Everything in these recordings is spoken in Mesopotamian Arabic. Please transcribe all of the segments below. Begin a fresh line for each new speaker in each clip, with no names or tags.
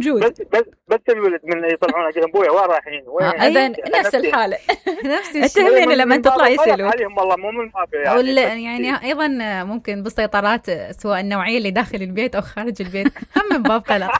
جود.
بس الولد من يطلعون اجل ابويا وين رايحين
اذا نفس الحاله. نفس الشيء تهمني لما تطلع يسالوك
عليهم والله مو من باب
يعني ايضا ممكن بالسيطرات سواء النوعيه اللي داخل البيت او خارج البيت هم من باب قلق.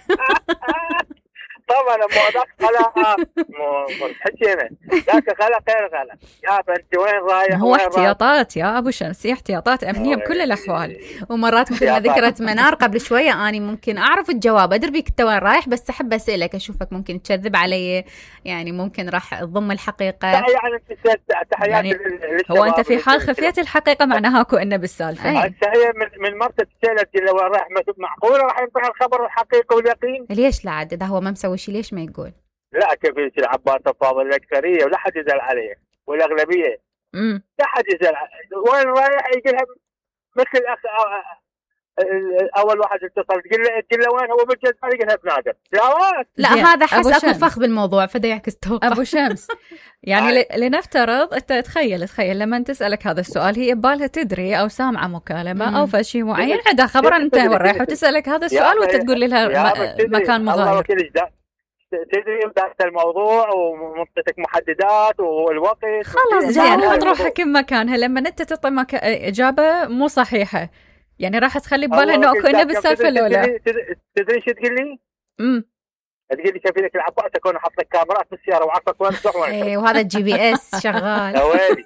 طبعا مو ذاك قلق مو حكينا ذاك قلق غير قلق. يا انت وين رايح؟
هو احتياطات يا ابو شمس، هي احتياطات امنيه بكل الاحوال.
ومرات مثل ما ذكرت منار قبل شويه اني ممكن اعرف الجواب، ادري بيك انت وين رايح، بس احب اسالك اشوفك ممكن تكذب علي، يعني ممكن راح تضم الحقيقه.
يعني
هو انت في حال خفيت الحقيقه معناها اكو انه بالسالفه.
هي من مرت سالت لو راح معقوله راح ينطيها الخبر الحقيقي واليقين؟
ليش لا عاد اذا هو ما مسوي شيء ليش ما يقول؟
لا كيف العباس الفاضل الاكثريه ولا حد يزعل عليه والاغلبيه لا حد يزعل. وين رايح يقولها مثل اول واحد اتصل تقول له وين هو بالجزائر يقولها بنادر.
لا هذا حس اكو فخ بالموضوع فدا يعكس توقع.
ابو شمس يعني لنفترض انت تخيل لما تسالك هذا السؤال هي ببالها تدري او سامعه مكالمه او فشي معين عندها خبر انت وين رايح وتسالك هذا السؤال وانت تقول لها مكان مغاير.
تدري بدأت الموضوع ومنطتك محددات والوقت
خلاص جاوب روحك بمكانها. لما انت تعطي اجابه مو صحيحه يعني راح تخلي ببالها انه اكو انه بالسالفه الاولى.
تدري شو تقول لي؟ تقول لي شوفي لك العباس اكون حاط لك كاميرات بالسياره وعارفك وين تروح وين.
اي وهذا الجي بي اس شغال.
يا ويلي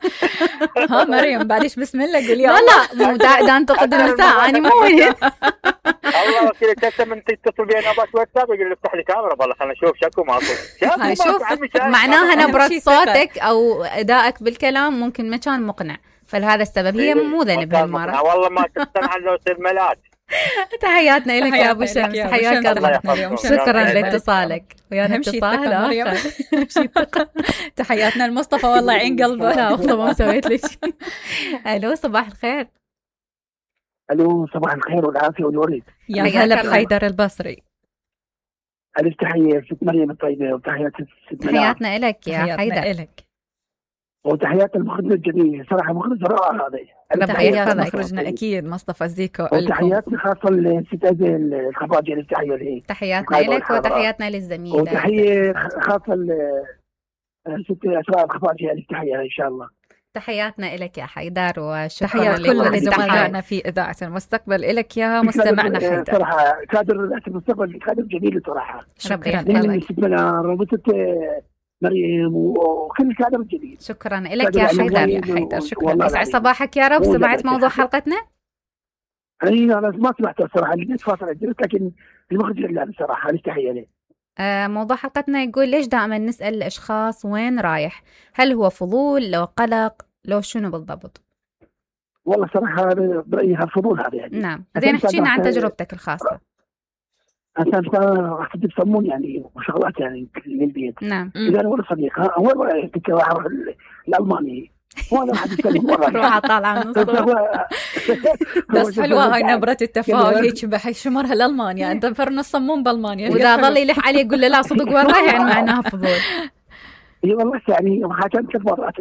ها مريم بعديش بسم الله قولي
لا مو دا انتقد النساء انا مو وين.
الله وكيلك انت من تتصل بي انا باش واتساب يقول لي افتح لي كاميرا والله خلينا نشوف شكو ماكو.
شوف معناها نبرة صوتك او ادائك بالكلام ممكن ما كان مقنع، فلهذا السبب هي مو ذنب هالمره.
والله ما تقتنع لو تصير ملاك.
تحياتنا لك يا ابو شمس، حياك الله. شكرا لاتصالك ويانا اتصال.
تحياتنا لمصطفى والله عين قلبه.
لا والله ما سويت لي شيء. الو صباح الخير.
الو صباح الخير والعافيه والورد.
يا هلا بحيدر البصري.
الف تحيه ست مريم الطيبه وتحيات ست منار.
تحياتنا لك يا حيدر.
وتحيات المخرج الجميل صراحه مخرج رائع هذا.
تحيات مخرجنا اكيد مصطفى زيكو.
وتحياتنا خاصه لست ازل الخفاجي التحيه له.
تحياتنا لك وتحياتنا للزميل.
وتحيه خاصه لست اسراء الخفاجي التحيه ان شاء الله.
تحياتنا لك يا حيدر وشكرا
تحيات كل زملائنا في إذاعة المستقبل لك يا مستمعنا حيدر.
صراحة كادر إذاعة المستقبل كادر جميل صراحة.
شكرا
لك. مريم وكل الكادر الجديد.
شكرا لك يا حيدر. شكرا. يسعد صباحك يا رب. سمعت موضوع حلقتنا؟
أنا ما سمعتها الصراحة لقيت فاصلة جلست لكن المخرج لا صراحة تحية له.
موضوع حلقتنا يقول ليش دائما نسأل الأشخاص وين رايح؟ هل هو فضول لو قلق لو شنو بالضبط؟
والله صراحة برأيي هالفضول هذا يعني.
نعم زين احكينا عن تجربتك الخاصة.
عشان راح تسمون يعني وشغلات يعني للبيت.
نعم.
إذا أنا ولا صديق وين رايح الألماني وانا راح اتكلم
روح طالعه من
بس حلوه هاي نبره التفاؤل هيك بحشمر هالالمانيا انت فرن الصمون بالمانيا
واذا ظل يلح عليه يقول له لا صدق وين رايح يعني معناها فضول.
اي والله يعني حاجات ثلاث مرات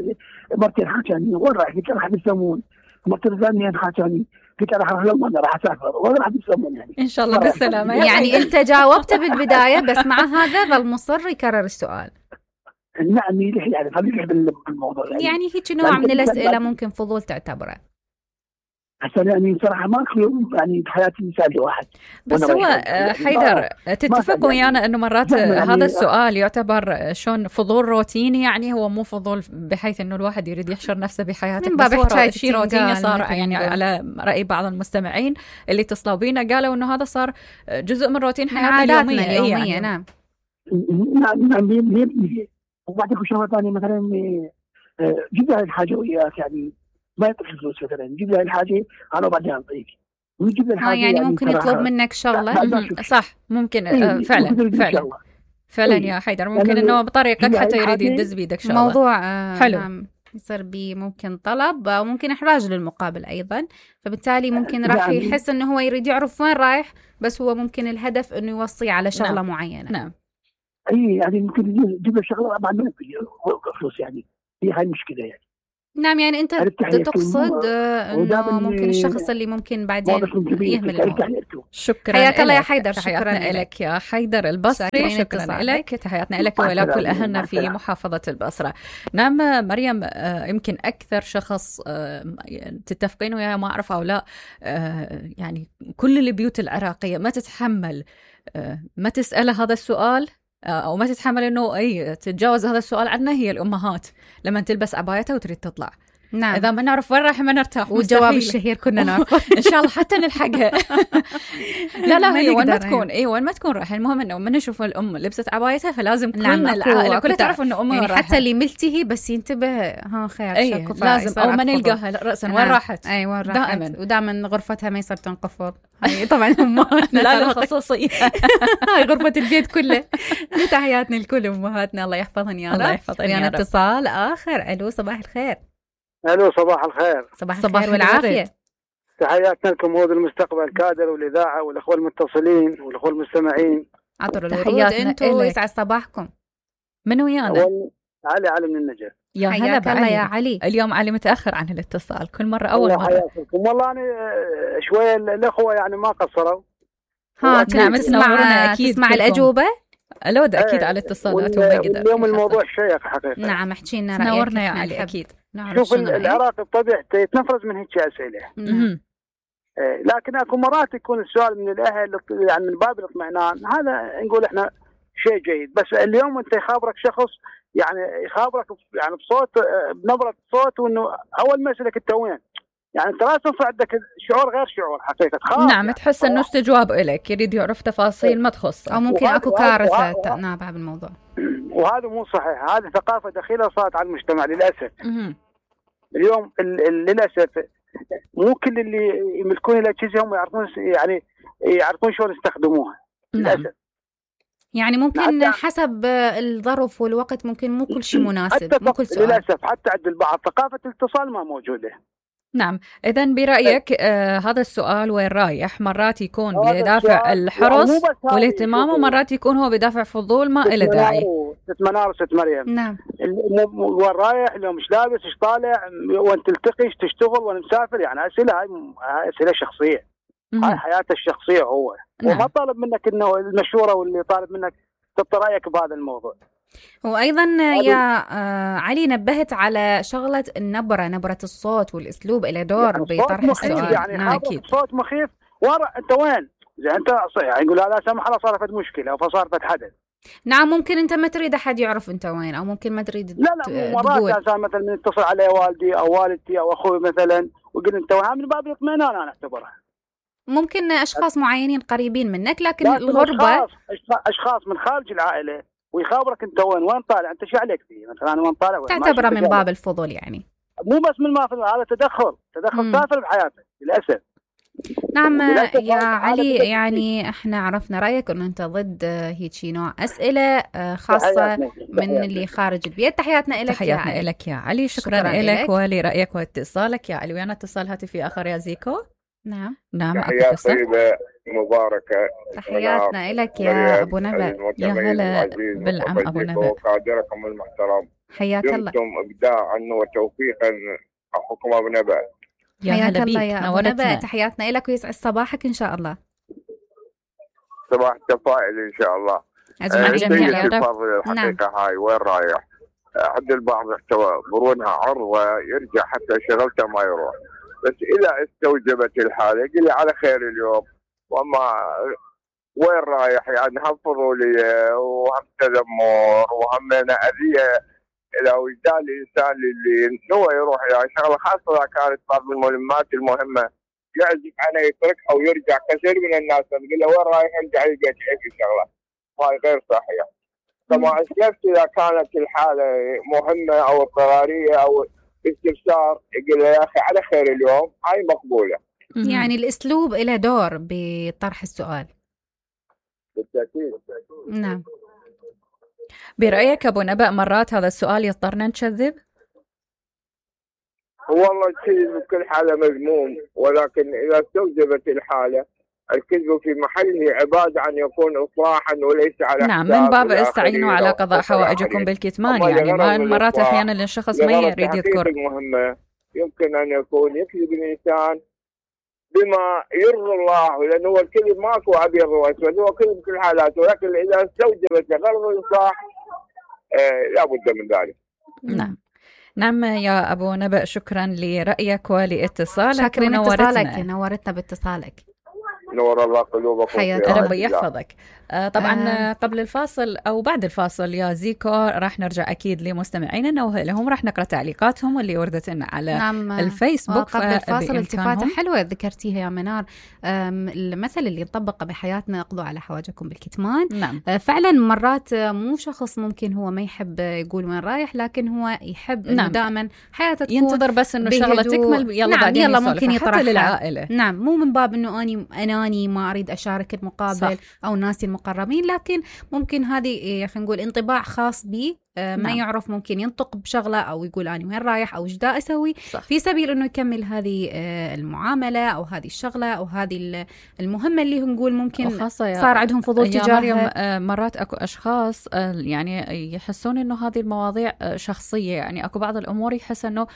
مرتين حاجاني وين رايح قلت راح بالصمون مرتين ثانيه حاجاني قلت راح اروح للمانيا راح اسافر وين راح بالصمون يعني
ان شاء الله بالسلامه.
يعني انت جاوبت بالبدايه بس مع هذا ظل مصر يكرر السؤال.
نعم يلح يعني خليه بالموضوع
يعني هيك نوع من الأسئلة ممكن فضول تعتبره.
عشان يعني صراحة ما أخلو يعني بحياتي مثال واحد.
بس هو حيدر تتفق ويانا إنه مرات هذا السؤال يعتبر شون فضول روتيني يعني هو مو فضول بحيث إنه الواحد يريد يحشر نفسه بحياته بس هو شيء روتيني صار يعني على رأي بعض المستمعين اللي اتصلوا بينا قالوا إنه هذا صار جزء من روتين حياتنا اليومية
يعني.
نعم. وبعدين شغله ثانيه مثلا جيب لها الحاجه وياك يعني ما يعطيك فلوس مثلا جيب لها الحاجه انا وبعدين اعطيك ويجيب لها الحاجه
يعني ممكن يطلب منك شغله.
صح ممكن فعلا يا حيدر ممكن انه بطريقك حتى يريد يدز بيدك شغله
موضوع
حلو
يصير بي ممكن طلب وممكن احراج للمقابل ايضا فبالتالي ممكن راح يحس انه هو يريد يعرف وين رايح بس هو ممكن الهدف انه يوصي على شغله معينه.
نعم
اي يعني ممكن يجيب له شغله بعد ما فلوس يعني هي هاي المشكله يعني.
نعم، يعني أنت تقصد أنه ممكن الشخص اللي ممكن بعدين يهمل الموضوع.
شكرا،
حياك الله يا حيدر.
شكرا لك يا حيدر البصري، شكرا لك، تحياتنا لك ولكل أهلنا في محافظة البصرة. نعم مريم، يمكن أكثر شخص تتفقين وياه، ما أعرف أو لا، يعني كل البيوت العراقية ما تتحمل ما تسأله هذا السؤال أو ما تتحمل إنه تتجاوز هذا السؤال عنا، هي الأمهات لما تلبس عبايتها وتريد تطلع.
نعم.
إذا ما نعرف وين رايح ما نرتاح.
والجواب الشهير كنا نعرف.
إن شاء الله حتى نلحقها. لا هي وين ما تكون وين ما تكون رايحة، المهم إنه من نشوف الأم لبست عبايتها فلازم كلنا العائلة كلها تعرف إنه أمها
يعني حتى اللي ملتهي بس ينتبه خير
لازم، أو ما نلقاها رأسا وين راحت.
وين راحت دائما، ودائما غرفتها ما يصير تنقفض. طبعا أمهاتنا
لا خصوصية.
هاي غرفة البيت كله. تحياتنا لكل أمهاتنا، الله يحفظهن يا رب.
الله يحفظهن يا رب.
اتصال آخر. ألو، صباح الخير.
الو، صباح الخير.
صباح الخير والعافية.
تحياتنا لكم مود المستقبل الكادر والإذاعة والأخوة المتصلين والأخوة المستمعين.
عطر الورود انتوا ويسعد صباحكم.
من ويانا؟
علي من النجف.
يا هلا
بعلي. يا علي،
اليوم علي متأخر عن الاتصال، كل مرة أول مرة.
حياتكم. والله أنا شوية الأخوة يعني ما قصروا.
نعم، تسمع
الأجوبة.
لو ده أكيد على اتصالاتهم.
اليوم الموضوع شيق حقيقة.
نعم، احكي لنا رأيك.
نورنا يا علي. أكيد.
شوف العراق بطبيعته يتنفرز من هيك أسئلة. لكن اكو مرات يكون السؤال من الأهل يعني من باب الاطمئنان، هذا نقول احنا شيء جيد. بس اليوم أنت يخابرك شخص، يعني يخابرك يعني بصوت، بنبرة صوت، وإنه أول ما يسألك أنت وين، يعني أنت لازم عندك شعور غير شعور حقيقة.
نعم،
يعني
تحس إنه استجواب إليك، يريد يعرف تفاصيل ما تخصه،
أو ممكن أكو كارثة نابعة بالموضوع.
وهذا مو صحيح، هذه ثقافة دخيلة صارت على المجتمع للأسف. اليوم للأسف مو كل اللي يملكون الأجهزة هم يعرفون شلون يستخدموها. للأسف.
يعني ممكن حسب الظرف والوقت ممكن مو كل شيء مناسب، مو كل سؤال.
للأسف حتى عند البعض ثقافة الاتصال ما موجودة.
نعم، إذن برأيك هذا السؤال وين رايح؟ مرات يكون بدافع الحرص والاهتمام، ومرات يكون هو بدافع فضول ما إله داعي.
منار ست مريم.
نعم.
وين رايح؟ لو مش لابس، ايش طالع، وين تلتقي، ايش تشتغل، وين مسافر، يعني أسئلة، هاي أسئلة شخصية. هاي حياته الشخصية هو.
نعم.
وما طالب منك إنه المشورة، واللي طالب منك تحط رأيك بهذا الموضوع.
وأيضا يا علي نبهت على شغلة النبرة، نبرة الصوت والأسلوب إلى دور يعني بطرح السؤال.
يعني نعم، أكيد. صوت مخيف، أنت وين؟ زي أنت يعني يقول لا سمح الله صارت مشكلة أو فصارت حدث.
نعم، ممكن أنت ما تريد أحد يعرف أنت وين، أو ممكن ما تريد.
لا مرات إنسان مثلا يتصل علي والدي أو والدتي أو أخوي مثلا ويقول أنت وين، من باب الاطمئنان أنا أعتبرها.
ممكن أشخاص معينين قريبين منك، لكن الغربة
أشخاص من خارج العائلة ويخابرك أنت وين طالع، أنت شو عليك فيه مثلا، أنا وين طالع،
تعتبره من باب الفضول يعني.
مو بس من ما هذا تدخل سافر بحياتك للأسف.
نعم يا علي، يعني احنا عرفنا رأيك انه انت ضد هيك نوع أسئلة خاصة من اللي خارج البيت. تحياتنا لك.
تحياتنا لك يا علي. شكرا لك ولرأيك واتصالك يا علي. ويانا اتصال هاتفي آخر يا زيكو.
نعم.
تحيات طيبة مباركة.
تحياتنا لك يا أبو نبأ.
يا هلا بالعم أبو نبأ.
وقادركم المحترم.
حياك الله.
دمتم إبداعا وتوفيقا أخوكم أبو نبأ.
يا هلا بيك،
يا أبو نبأ. تحياتنا لك ويسعد صباحك إن شاء الله.
صباح تفائل إن شاء الله.
جميع يا رب.
الحقيقة هاي وين رايح؟ عند البعض يعتبرونها عرضة يرجع حتى شغلته ما يروح، بس إذا استوجبت الحالة قل لي على خير اليوم، وما وين رايح يعني هم فضولية وهم تذمر وهم أذية إلى وجدان الإنسان اللي هو يروح يعني شغلة، خاصة إذا كانت بعض المهمات المهمة يعزف عنها يترك أو يرجع. كثير من الناس تقول له وين رايح يرجع يلقى شيء شغلة، هاي غير صحيح. كما أسلفت إذا كانت الحالة مهمة أو اضطرارية أو استفسار يقول له يا أخي على خير اليوم، هاي مقبولة.
يعني الأسلوب له دور بطرح السؤال.
بالتأكيد.
نعم.
برأيك أبو نبأ مرات هذا السؤال يضطرنا نكذب؟
والله شيء بكل حالة مذموم، ولكن إذا استوجبت الحالة الكذب في محله عبادة عن يكون إصلاحا وليس على
نعم من باب استعينوا على قضاء حوائجكم بالكتمان. يعني مرات أحيانا الشخص ما يريد يذكر
المهمة يمكن أن يكون يكذب الإنسان بما يرضي الله، لأنه هو الكذب ماكو أبيض وأسود، هو كذب كل حالات، ولكن إذا استوجبت غرض الإصلاح لا بد من ذلك.
نعم يا أبو نبأ، شكرا لرأيك ولاتصالك.
شكرا اتصالك، نورتنا باتصالك.
نور الله قلوبكم،
ربي يحفظك. طبعا قبل الفاصل أو بعد الفاصل يا زيكو راح نرجع أكيد لمستمعينا نوه لهم، راح نقرأ تعليقاتهم اللي وردت لنا على الفيسبوك.
قبل الفاصل التفاتة حلوة ذكرتيها يا منار، المثل اللي يطبق بحياتنا اقضوا على حواجكم بالكتمان. فعلا مرات مو شخص ممكن هو ما يحب يقول وين رايح، لكن هو يحب إنه دائما حياته تكون
ينتظر بس إنه شغلة تكمل يلا بعدين
يلا ممكن يطرحها
للعائلة.
مو من باب إنه أناني ما أريد أشارك المقابل صح. أو ناسي المقربين، لكن ممكن هذه خلينا نقول انطباع خاص بي ما يعرف، ممكن ينطق بشغلة أو يقول أنا وين رايح أو إيش دا أسوي صح. في سبيل إنه يكمل هذه المعاملة أو هذه الشغلة أو هذه المهمة اللي نقول ممكن صار عندهم فضول تجاهها.
مرات أكو أشخاص يعني يحسون إنه هذه المواضيع شخصية، يعني أكو بعض الأمور يحس إنه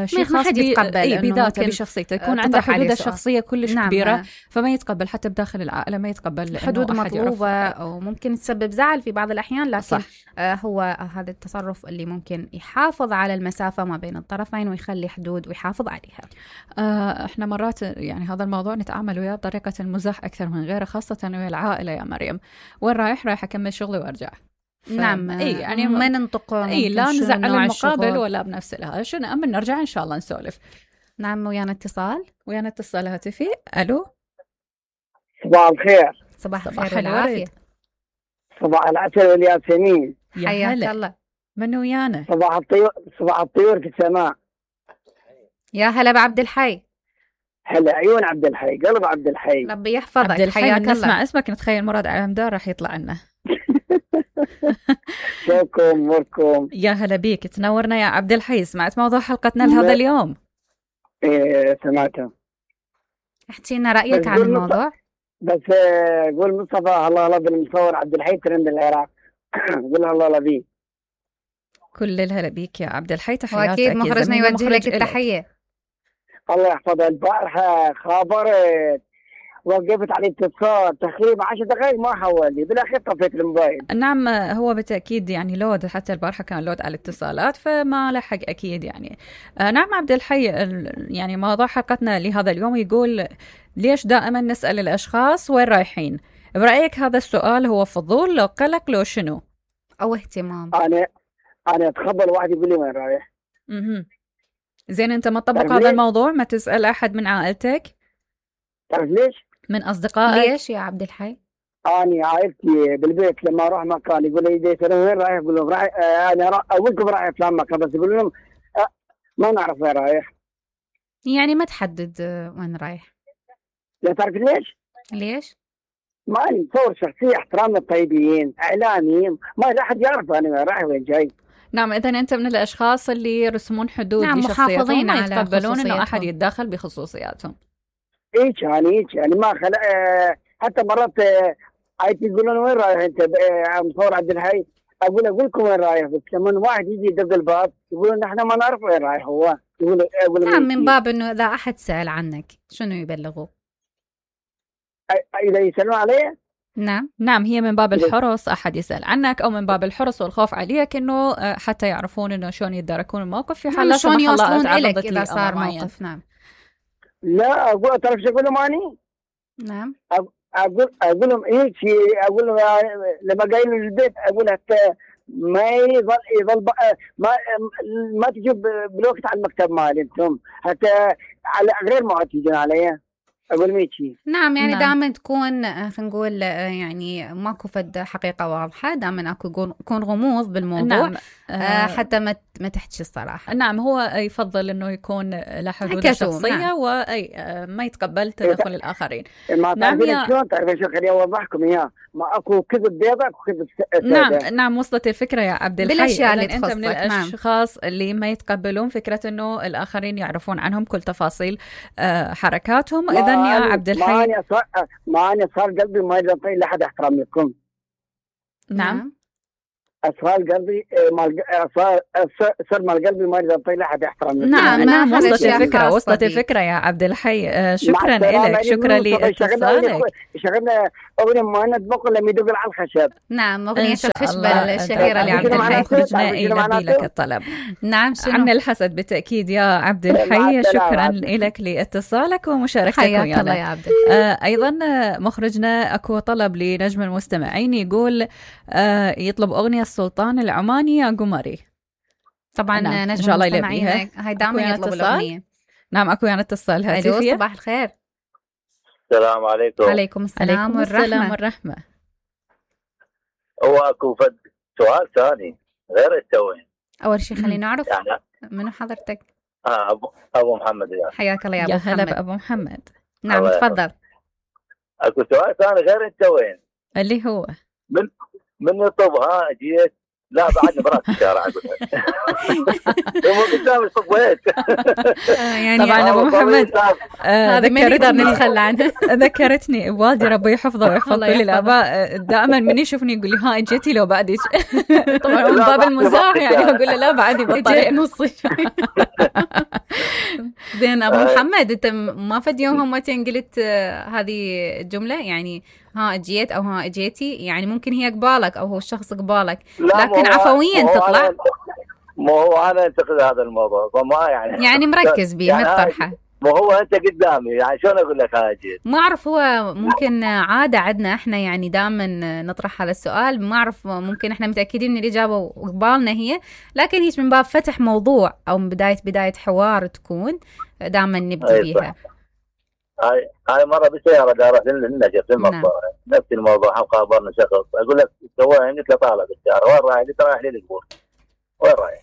شيء خاص بذاته بشخصيته، يكون عنده حدود الشخصية كلش كبيرة فما يتقبل حتى بداخل العائلة، ما يتقبل
حدود مطلوبة أو ممكن تسبب زعل في بعض الأحيان، لكن هو هذا التصرف اللي ممكن يحافظ على المسافة ما بين الطرفين ويخلي حدود ويحافظ عليها.
احنا مرات يعني هذا الموضوع نتعامل وياه بطريقة المزاح أكثر من غيره، خاصة ويا العائلة. يا مريم وين رايح أكمل شغلي وأرجع.
نعم يعني ما ننطق
لا نزعل المقابل ولا بنفس لها شو نأمن نرجع إن شاء الله نسولف.
نعم ويانا اتصال
هاتفي. ألو
صباح الخير.
صباح الخير والعافية.
صباح العسل والياسمين.
حياك الله.
من ويانا؟
صباح الطيور في السماء.
يا هلا بعبد الحي.
هلا عيون عبد الحي، قلب عبد الحي.
ربي يحفظك.
عبد الحي نسمع اسمك نتخيل مراد علمدار راح يطلع لنا.
شوكم اموركم؟
يا هلا بيك، تنورنا يا عبد الحي. سمعت موضوع حلقتنا لهذا اليوم؟
ايه سمعته.
احكي لنا رأيك عن الموضوع.
بس قول مصطفى الله بالمصور عبد الحي ترند العراق. قول الله بيه.
كل الهلا بيك يا عبد الحي، تحياتك.
واكيد مخرجنا يوجه لك التحية.
الله يحفظها. البارحة خابرت وقفت على اتصال تقريبا 10 دقائق ما حولي، بالاخير طفيت الموبايل.
نعم هو بالتاكيد يعني لود، حتى البارحه كان لود على الاتصالات فما لحق اكيد يعني. نعم عبد الحي، يعني موضوع حلقتنا لهذا اليوم يقول ليش دائما نسال الاشخاص وين رايحين؟ برايك هذا السؤال هو فضول لو قلق لو شنو
او اهتمام؟
انا اتخبل واحد يقول لي وين رايح.
زين انت ما تطبق هذا الموضوع؟ ما تسال احد من عائلتك؟
تعرف ليش؟
من أصدقائك؟
ليش يا عبد الحي؟
أنا عائلتي بالبيت لما أروح مكان يقول لي ديت أنا وين رايح؟ أقول لهم رايح أنا أقولكم رايح فلان مكان، بس يقول لهم ما نعرف وين رايح.
يعني ما تحدد وين رايح.
لا تعرف
ليش؟
ما أنا مصور شخصية، احترام الطيبين، إعلامي، ما أحد يعرف أنا وين رايح وين جاي.
نعم إذا أنت من الأشخاص اللي يرسمون حدود لشخصياتهم، ما يتقبلون إنه أحد يتدخل بخصوصياتهم.
ايش يعني ما خلق حتى مرات عايز يقولون وين رايح انت مصور عبد الحي؟ اقول لكم وين رايح، بس لما واحد يجي يدق الباب يقولون نحن ما نعرف وين رايح هو. يقول
نعم من باب انه اذا احد سأل عنك شنو يبلغوا؟
اذا يسالون عليه.
نعم
هي من باب الحرص، احد يسال عنك او من باب الحرص والخوف عليك، انه حتى يعرفون انه شلون يتداركون الموقف في حال
شلون يوصلون اليك اذا صار موقف. نعم
لا اقول تعرف شو اقول لهم اني؟
نعم
اقول لهم هيك، اقول لهم لما جايين البيت اقول حتى ما يظل ما تجي بالوقت على المكتب مالي انتم، حتى على غير ما تجون علي اقول ميتشي.
نعم يعني دائما تكون خلينا نقول يعني ماكو فد حقيقه واضحه، دائما اكو يكون غموض بالموضوع. نعم. حتى ما تحكي الصراحه.
نعم هو يفضل انه يكون له حدود شخصيه. نعم. وما يتقبل تدخل الاخرين.
نعم شلون تعرف شو خليني اوضحكم اياه، ما اكو كذب بيض اكو كذب
نعم وصلت الفكره يا عبد الحي.
بالاشياء اللي
انت من الاشخاص اللي ما يتقبلون فكره انه الاخرين يعرفون عنهم كل تفاصيل حركاتهم. اذا يا عبد الحي.
ما أنا صار قلبي ما ينطي لحد احترامكم.
نعم.
أسرار قلبي صار مال قلبي ما ينطي لحد احترامكم.
نعم وصلت الفكرة يا عبد الحي. شكرا لك، شكرا لاتصالك.
شغلنا أغنية ما نطبق لما يدق على الخشب.
نعم، أغنية الخشبة الشهيرة لعبد الحي.
خرجنا يلبي لك الطلب.
نعم، شنو؟
عن الحسد بالتأكيد يا عبد الحي. شكرا لك لاتصالك ومشاركتك ويانا.
الله يا عبد الحي.
أيضا مخرجنا أكو طلب لنجم المستمعين، يقول يطلب أغنية السلطان العماني يا قمري.
طبعا نجم المستمعين هاي دائما يطلب الأغنية.
نعم، أكو يعني اتصال هاتفي.
صباح الخير.
السلام عليكم.
عليكم السلام والرحمة.
هو أكو سؤال ثاني غير التوين.
أول شيء خلينا نعرف يعني منو حضرتك.
أبو محمد.
حياك الله يا أبو محمد.
يا هلا بأبو محمد.
نعم تفضل.
أكو سؤال ثاني غير التوين
اللي هو
من يطبها جيت لا بعدني برات الشارع أقولها. مو قدام الصبوات.
يعني طبعا أبو محمد
هذا ما نقدر نتخلى عنه.
ذكرتني والدي ربي يحفظه ويحفظ كل الآباء، دائما من يشوفني يقول لي ها اجيتي لو بعدك. طبعا من باب المزاح يعني أقول له لا بعدي بالطريق نصي.
زين أبو محمد، أنت ما فد يوم هم قلت هذه الجملة يعني ها اجيت او ها اجيتي، يعني ممكن هي قبالك او هو الشخص قبالك لكن عفويا تطلع.
مو هو انا انتقد هذا الموضوع فما
يعني مركز بيه يعني مطرحه.
مو هو انت قدامي يعني شلون اقول لك ها اجيت؟
ما اعرف، هو ممكن عاده عندنا احنا يعني دائما نطرح هذا السؤال، ما اعرف ممكن احنا متاكدين من الاجابه وقبالنا هي، لكن هي من باب فتح موضوع او من بدايه حوار تكون دائما نبدي بيها.
هاي مرة بالسيارة دارت للنجف للمطار نفس الموضوع، قابلنا شخص أقول لك سويها قلت له طالع بالسيارة وين رايح؟ قلت رايح للقبور. وين رايح؟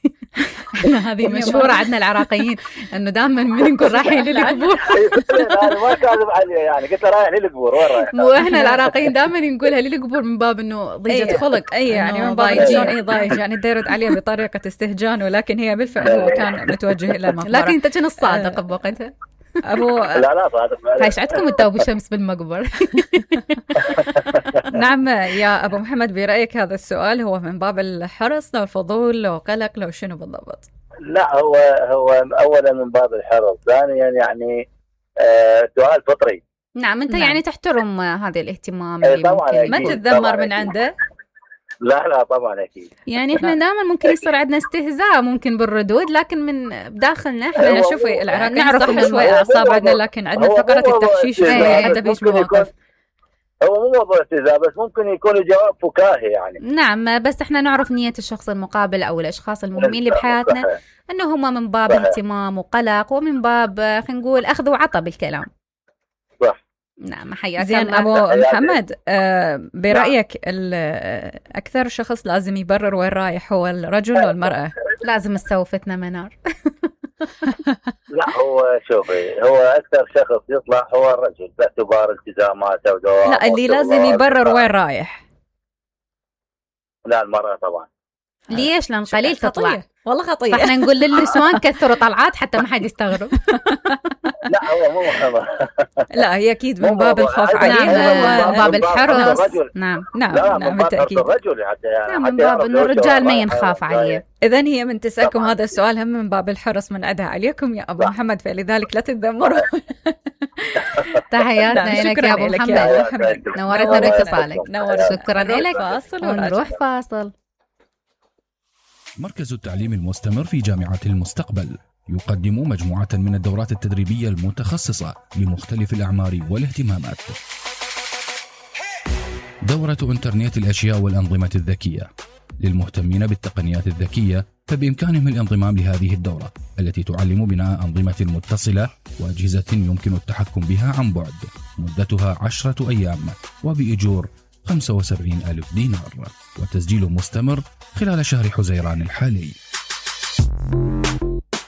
هذه مشهورة عندنا العراقيين إنه دائما من نقول رايحين للقبور.
أنا ما كاذب عليه يعني قلت له رايح للقبور وين رايح؟
مو إحنا العراقيين دائما نقولها للقبور من باب إنه ضيجة خلق،
أي يعني من باب شلون ضايج يعني ديرد عليه بطريقة استهجان، ولكن هي بالفعل هو كان متوجه إلى المقبرة.
لكن أنت كنت الصادق بوقتها.
أبو
لا صادق.
هايش عندكم التوب الشمس بالمقبر.
نعم يا أبو محمد، برأيك هذا السؤال هو من باب الحرص لو الفضول لو قلق لو شنو بالضبط؟
لا هو أولا من باب الحرص، ثانيا يعني سؤال فطري.
نعم أنت يعني تحترم هذا الاهتمام
اللي ممكن
ما تتذمر من عنده.
لا طبعا اكيد.
يعني احنا دائما ممكن يصير عندنا استهزاء ممكن بالردود، لكن من داخلنا احنا
شوفي العراقيين نعرف شوي اعصاب عندنا، لكن عندنا فقره التحشيش حتى فيش مواقف.
هو مو موضوع استهزاء بس ممكن يكون الجواب فكاهي يعني.
نعم بس احنا نعرف نية الشخص المقابل او الاشخاص المهمين اللي بحياتنا انه هم من باب اهتمام وقلق ومن باب خلينا نقول اخذ وعطى بالكلام.
صح.
نعم حياك
زين
الله.
أبو محمد برأيك أكثر شخص لازم يبرر وين رايح هو الرجل ولا المرأة؟
لازم تسوفتنا منار.
لا هو شوفي هو أكثر شخص يطلع هو الرجل باعتبار التزاماته ودوامه.
لا اللي لازم يبرر وين رايح.
لا المرأة طبعا.
ليش؟ لأن قليل تطلع.
والله خطية.
فاحنا نقول للنسوان كثروا طلعات حتى ما حد يستغرب.
لا هو مو محمد.
لا هي أكيد من باب الخوف عليها
ومن باب الحرص. نعم
بالتأكيد.
الرجل حتى
يعني من باب إنه الرجال ما ينخاف عليه.
إذن هي من تسألكم هذا السؤال هم من باب الحرص من عدها عليكم يا أبو محمد، فلذلك لا تتذمروا.
تحياتنا لك يا أبو محمد، نورتنا باتصالك. شكرا لك. ونروح فاصل.
مركز التعليم المستمر في جامعة المستقبل يقدم مجموعة من الدورات التدريبية المتخصصة لمختلف الأعمار والاهتمامات. دورة إنترنت الأشياء والأنظمة الذكية للمهتمين بالتقنيات الذكية، فبإمكانهم الانضمام لهذه الدورة التي تعلم بناء أنظمة متصلة وأجهزة يمكن التحكم بها عن بعد، مدتها 10 أيام وبإجور 75,000 دينار، وتسجيل مستمر خلال شهر حزيران الحالي.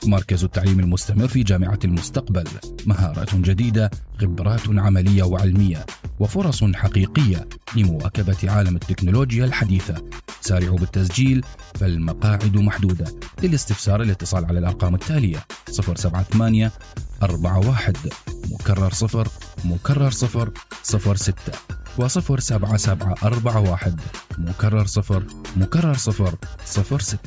مركز التعليم المستمر في جامعة المستقبل، مهارات جديدة، خبرات عملية وعلمية، وفرص حقيقية لمواكبة عالم التكنولوجيا الحديثة. سارعوا بالتسجيل فالمقاعد محدودة. للاستفسار الاتصال على الأرقام التالية: 078 41 مكرر 0 مكرر 006 و07741 مكرر 0 مكرر 006.